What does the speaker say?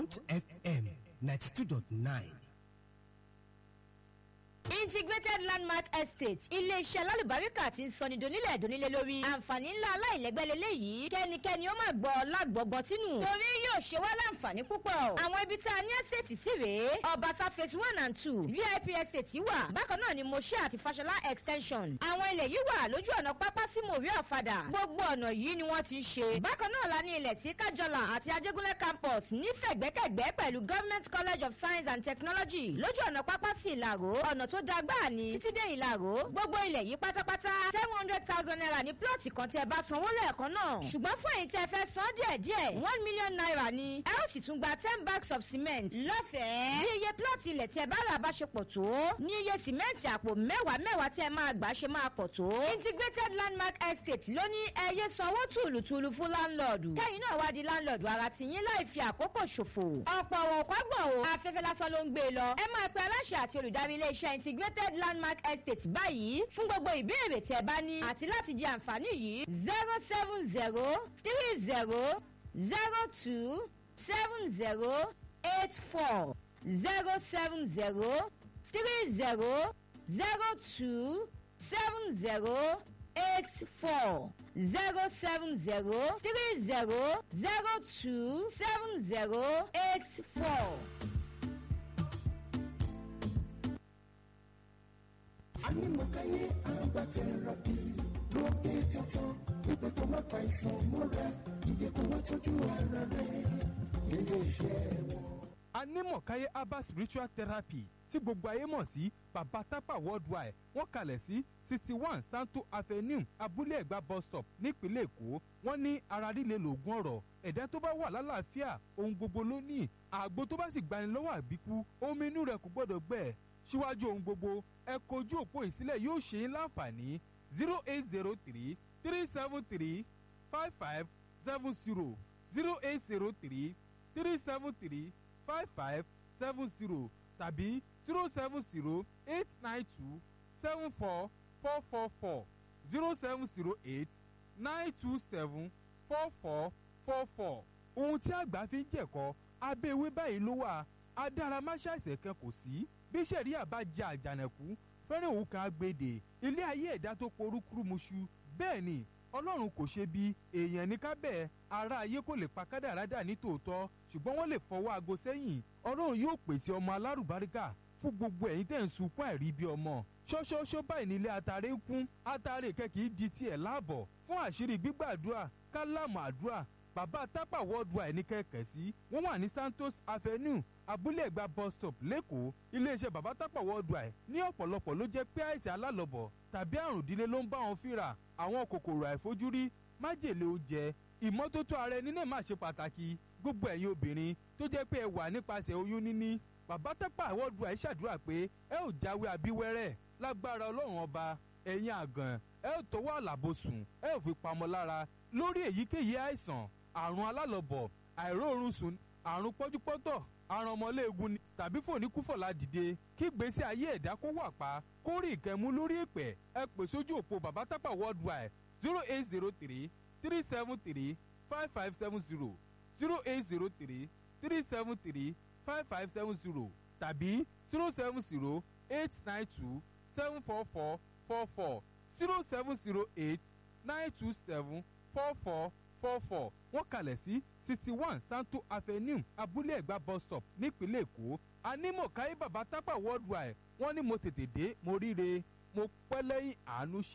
Bond FM 92.9. Integrated Landmark Estate, ilé-iṣẹ́ alálùbáríkà tí ń sọni donílẹ̀ donílé lórí. Àǹfààní ńlá aláìlẹ́gbẹ́ leléyìí, kẹ́nikẹ́ni ó máa gbọ́ lágbọ̀gbọ́ tínú, torí yóò ṣe wá láǹfààní púpọ̀. Àwọn ibi tá a ní estate sí rèé: Ọbaṣá phase 1 and 2, VIP estate wà bákan náà ní Moshe àti Fashola extension. Àwọn ilẹ̀ yìí wà lójú ọ̀nà pápá sí Mòrí Ọ̀fadà. Gbogbo ọ̀nà yìí ni wọ́n ti ń ṣe. Bákan náà la ní ilẹ̀ sí Kájọlà àti Ajégúnlẹ̀ campus nífẹ̀gbẹ́kẹ̀gbẹ́ pẹ̀lú Government College of Science and Technology lójú ọ̀nà pápá sí Ìlàró. Ọ̀nà tó da gbáà ni títí dé Ìlàró. Gbogbo ilẹ̀ yìí pátápátá, ₦700,000 ní plọ̀tì kan tí ẹ bá sanwó lẹ́ẹ̀kan náà. Ṣùgbọ́n fún èyí tí ẹ fẹ́ san díẹ̀ díẹ̀, ₦1 million ni. Ẹ ó sì tún gba 10 bags of cement lọ́fẹ̀ẹ́. Bí iye plọ̀tì ilẹ̀ tí ẹ bá rà bá ṣe pọ̀ tó ní iye cement àpò mẹ́wàá mẹ́wàá tí ẹ máa gbà ṣe máa pọ̀ tó. Integrated Landmark Estate ló ní ẹ yé sanwó tùlùtùlù fún láńlọ́ọ̀dù, kẹ́yìn náà wá di láńlọ́ọ̀dù ara tìyín láì fi àkókò ṣòfò. Ọ̀pọ̀ ọ̀wọ̀n kọ́gbọ̀n o, afẹ́fẹ́ lásán ló ń gbé e lọ. Ẹ máa pe aláṣẹ àti olùdarí ilé-iṣẹ́ Integrated Landmark Estate báyìí fún gbogbo ìbéèrè tí ẹ bá ní àti láti jẹ àǹfààní yìí: 07030027084, 07030027084, 07030027084. Anímọ̀káyé agbátẹrọ̀bì ló dé tuntun ìpè kó má pa ìsàn mọ́ra ìdè kó wá tọ́jú ara rẹ̀ nílé iṣẹ́ wọn. Anímọ̀káyé herbal spiritual therapy tí gbogbo ayé mọ̀ sí Baba Tapa Worldwide, wọ́n kalẹ̀ sí 61 Santo Avenue, Abúlé Ẹ̀gbá bus stop, nípínlẹ̀ Èkó. Wọ́n ní ara líle lògùn ọ̀rọ̀. Ẹ̀dá tó bá wà lálàáfíà, ohun gbogbo ló ní. Àgbo tó bá sì gbani lọ́wọ́ àbíkú, omi inú rẹ̀ kò gbọ́dọ̀ gbẹ. Síwájú ohun gbogbo, ẹ kojú òpó ìsílẹ̀ yóò ṣe é láǹfààní: 08033735570, 08033735570 tàbí 07089274444, 07089274444. Ohun tí àgbà fi ń jẹ̀kọ́ abẹ́ ewé báyìí ló wà. Adáramáṣáìsẹ̀ kan kò sí bí sẹ̀ríà bá jẹ àjànàkú fẹ́rẹ̀ òun kan agbèdè ilé ayé ẹ̀dá tó porúkúrúmuṣu. Bẹ́ẹ̀ ni Ọlọ́run kò ṣe bí èèyàn ní kábẹ́ ara ayé kò lè pa kádàrá dà ní tòótọ́, ṣùgbọ́n wọ́n lè fọwọ́ aago sẹ́yìn. Ọlọ́run yóò pèsè ọmọ alárùbáríkà fún gbogbo ẹ̀yin tẹ̀ ń sunkún àìrí bí ọmọ. Ṣọ́ṣọ́ṣọ́ báyìí nílé atare ń kún, atare kẹ́kì í di tiẹ̀ láàbọ̀. Fún àṣírí gbígbàdúrà, kálámù àdúrà, Bàbá Tápà Worldwide ní kẹ̀kẹ́ sí. Wọ́n wà ní Santos Avenue, Abúlé Ẹ̀gbá bus stop, lẹ́kọ̀ọ́. Iléeṣẹ́ Bàbá Tápà Worldwide ní ọ̀pọ̀lọpọ̀ ló jẹ́ pé àìsàn alálọ̀bọ̀ tàbí àrùn ìdílé ló ń bá wọn fínra, àwọn kòkòrò àìfojúrí, májèlé oúnjẹ. Ìmọ́tótó ara ẹni náà má ṣe pàtàkì. Gbogbo ẹ̀yin obìnrin tó jẹ́ pé ẹ wà nípasẹ̀ oyún níní, Bàbá Tápà Worldwide ṣàdúrà pé ẹ ò jáwé abíwẹ́rẹ́ lágbára Ọlọ́run Ọba. Ẹ̀yin àgàn, ẹ ò tọwọ́ àlàbòsùn, ẹ ò fi pamọ́ lára lórí èyíkéyìí àìsàn, àrùn alálọ̀bọ̀, àìróorun sùn, àrùn pọ́júpọ́tọ̀, àrùn ọmọléegun ni tàbí fòníkúfọ̀lá dìde, kí gbèsè ayé ẹ̀dá kó wà pa, kó rí ìkẹ́mú lórí ìpẹ́. Ẹ pè sójú òpó Bàbá Tápà Worldwide: 08033735570, 08033735570 tàbí 07089274444, 07089274444. Wọ́n kalẹ̀ sí 61 Santo Avenue, Abúlé Ẹ̀gbá bus stop, nípínlẹ̀ Èkó. Anímọ̀káyé Bàbá Tápà Worldwide, wọ́n ní mo tètè dé, mo ríre, mo pẹ́ lẹ́yìn àánú ṣe.